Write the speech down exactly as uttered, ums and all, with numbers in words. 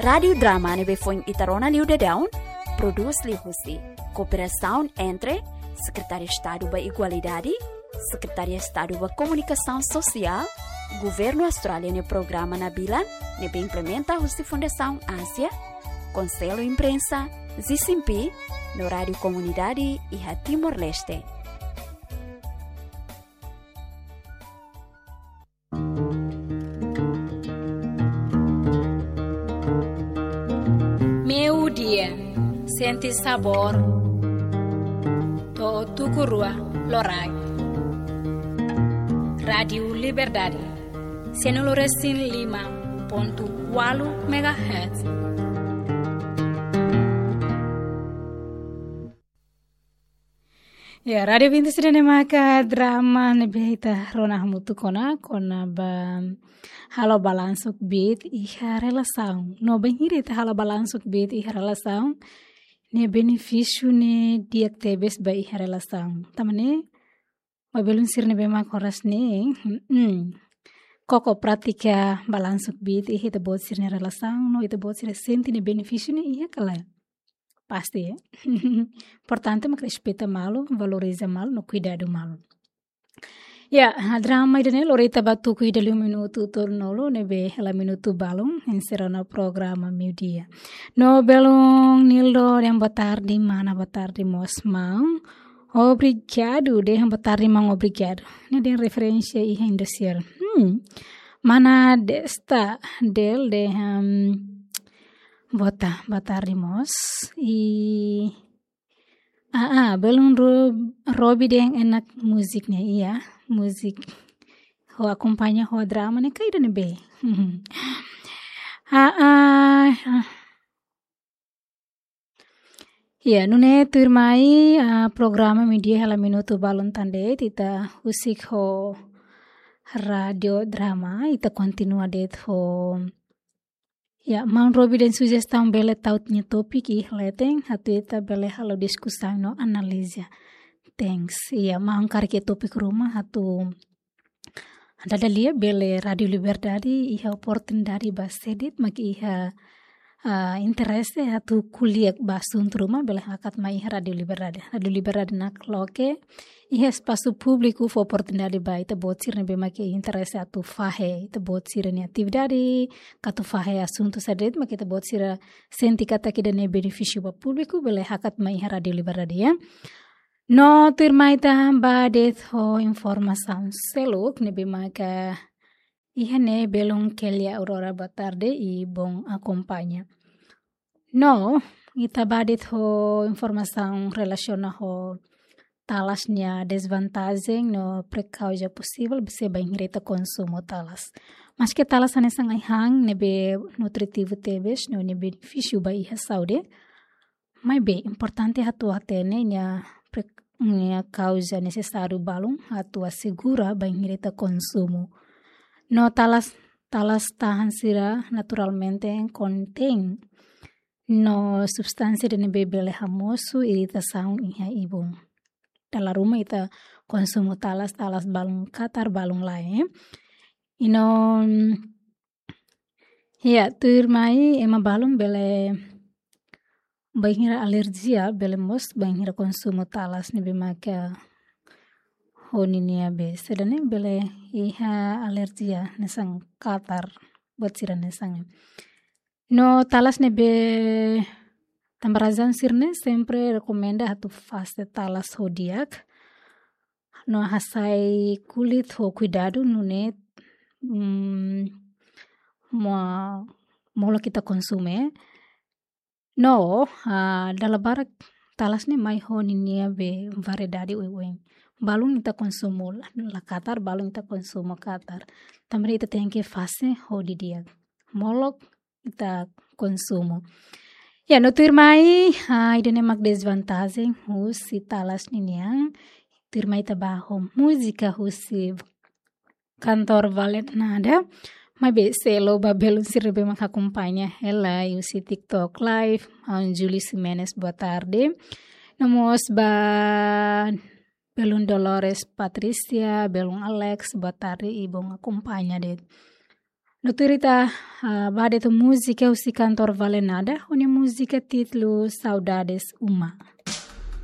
Rádiu Drama ne'ebé foin ita rona liu daudaun, prodús liuhusi kooperasaun entre Sekretáriu Estadu ba Igualdade, Sekretáriu Estadu ba Komunikasaun Sosiál, Governu Austrália nia programa Nabilan, ne'ebé implementa husi Fundasaun Ázia, Konsellu Imprensa, Zisimpi, no Rádiu Komunidade iha Timor-Leste. Meiudia, sente sabór to'o tuku rua loraik. Rádiu Liberdade, sianulu resin lima pontu ualu megahertz. Ya, Rádiu Vinti sira ne'e maka drama ne'ebé ita rona hamutuk ona, kona-ba halo balansu kbiit iha relasaun. No bainhira ita halo balansu kbiit iha relasaun, nia benefísiu ne'e di'ak tebes ba iha relasaun. Tanba ne'e, ba belun sira ne'ebé mak oras ne'e, mm, koko pratika balansu kbiit iha ita-boot sira-nia relasaun, no ita-boot sira sente nia benefísiu ne'e iha ka lae? Pasti, ya. Importante mak respeita malu, valoriza malu, no kuidadu malu. Ya, drama ida-ne'e lori ita ba tuku ida liu minutu tolunulu, ne'ebé hela minutu balun, enserra ona programa meiudia. No belun Nildo dehan boa tarde, mana, boa tarde mós maun. Obrigadu, dehan boa tarde maun, obrigadu. Ne'e dehan referénsia iha Indosiar. Hmm. Mana Desta Del dehan boa ta-, boa tarde mós. I, ah, ah, belun Ro-, Robi dehan enak múzika ne'e, iya, múzika. Ho akompaña ho drama ne'e ka ida-ne'ebé? Ah, ah, ah. Ya, nune'e tuirmai, ah, programa meiudia hela minutu balun tan de'it, ita husik ho Rádiu Drama, ita kontinua de'it ho. Ya, maun Robi dehan sujestaun bele tau nia tópiku iha leten, atu ita bele halo diskusaun no analiza. Thanks. Ya, maun karik iha tópiku ruma atu dada lia bele Rádiu Liberdade iha oportunidade ba sé de'it mak iha, ah, interese atu ko'alia ba asuntu ruma bele hakat mai iha Rádiu Liberdade. Rádiu Liberdade nakloke iha espasu públiku fó oportunidade ba ita-boot sira ne'ebé mak iha interese atu fahe ita-boot sira-nia atividade, ka atu fahe asuntu saida de'it mak ita-boot sira sente katak ida-ne'e benefísiu ba públiku, bele hakat mai iha Rádiu Liberdade, ya. No tuirmai ita bá de'it ho informasaun seluk ne'ebé maka iha ne'e, belun Kelia Aurora, boa tarde i bom acompanha. No, ita bá de'it ho informasaun relasiona ho talas nia desvantajen no prekauza posivel, se bainhira ita konsumu talas. Maske talas hanesan ai-han ne'ebé nutritivu tebes no nia benefísiu ba iha saúde, maibé importante atu hatene nia pre-, nia kauza nesesáriu balun atu asegura bainhira ita konsumu. No talas, talas tahan sira naturalmente kontein no substánsia ida ne'ebé bele hamosu iritasaun iha ibun. Dala ruma ita konsumu talas, talas balun katar, balun lae. I no, ya, tuirmai ema balun bele bainhira alerjia, bele mós bainhira konsumu talas ne'ebé maka ho ninia be, saida ne'e, bele iha alerjia hanesan katar, buat sira hanesan. No talas ne'ebé tanba razaun sira-ne'e sempre rekomenda atu fase talas ho di'ak. No hasai kulit ho kuidadu nune'e, mm, mo-, molok ita konsume. No, ah, dala barak talas ne'e mai ho ninia be variedade oioin. Balun ita konsumu la, la katar, balun ita konsumu katar. Tanba ne'e ita tenke fase ho didi'ak. Molok ita konsumu. Ya, no tuirmai, ah, ida-ne'e mak desvantajen husi talas ninian. Tuirmai ita bá ho múzika husi kantór Valentnada. Maibé selo ba belun sira ne'ebé mak akompaña hela husi TikTok Live, ah, Julie Ximenes, boa tarde. No mós ba belun Dolores Patricia, belun Alex, boa tarde i bom akompaña de'it. No tuir ita, ah, ba de'it múzika husi kantór Vale Nada, ho nia múzika títulu Saudades Uma.